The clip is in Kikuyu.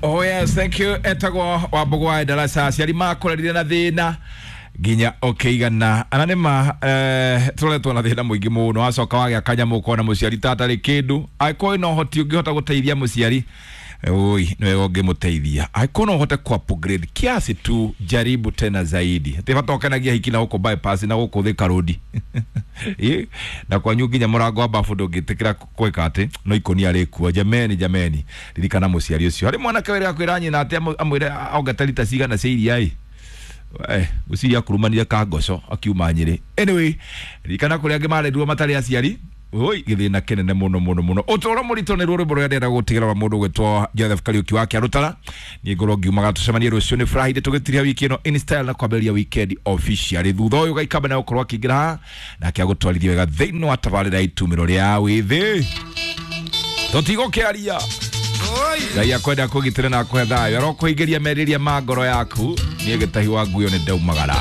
Oh yes, thank you. Etagwo Wambugu wa Darasa. Aciari makũrerire na thĩna nginya ũkĩigana ana nĩ ma tũroretwo na thĩna mũingĩ mũno. Wacoka wagĩa kanyamũ ũkona mũciari ta atarĩ kĩndũ. Angĩkorwo wĩna ũhoti ũngĩhota gũteithia mũciari, oi nĩ wega ũngĩmũteithia. Angĩkorwo no ũhote ku upgrade kiasi tu, jaribu tena zaidi. Atĩ bata ũkenagia hiki na gũkũ bypass na gũkũ Thika Road. Ĩ, na kwanyu nginya mũrango wa bafu ndũngĩtĩkĩra gwĩka atĩ no ikũnia rĩkuo. Jameni, jameni, ririkana mũciari ũcio. Harĩ mwanake wĩrĩga kwĩra nyina atĩ amwĩre ongete rita cigana cia iria ĩ. Ngwĩciria akurumanire kangoco akiuma Nyĩrĩ. Anyway, ririkana kũrĩa angĩ marerirwo matarĩ aciari. Oi, gĩthĩna kĩnene mũno mũno mũno. Ũtũũro mũritũ nĩruo rwĩmbo rũrĩa ndĩrenda gũtigĩra rwa mũndũ ũgwĩtwo Joseph Kariũki wa Kĩarũtara. Niĩ ngorwo ngiumaga tũcemanie rũciũ nĩ Friday tũgĩtiria wiki ĩno in style na kwambĩrĩria weekend officially. Thutha ũyũ Gaikamba nĩ egũkorwo akĩingĩra haha nake agũtwarithie wega thĩinĩ wa tabarĩra ya itumĩro rĩa wĩthĩ. Tũtigũkĩaria. Ngai akwenda kũgitĩra na akũhe thayũ, arokũhingĩria merirĩria ma ngoro yaku. Niĩ gĩtahi wa nguyo nĩ ndaumagara.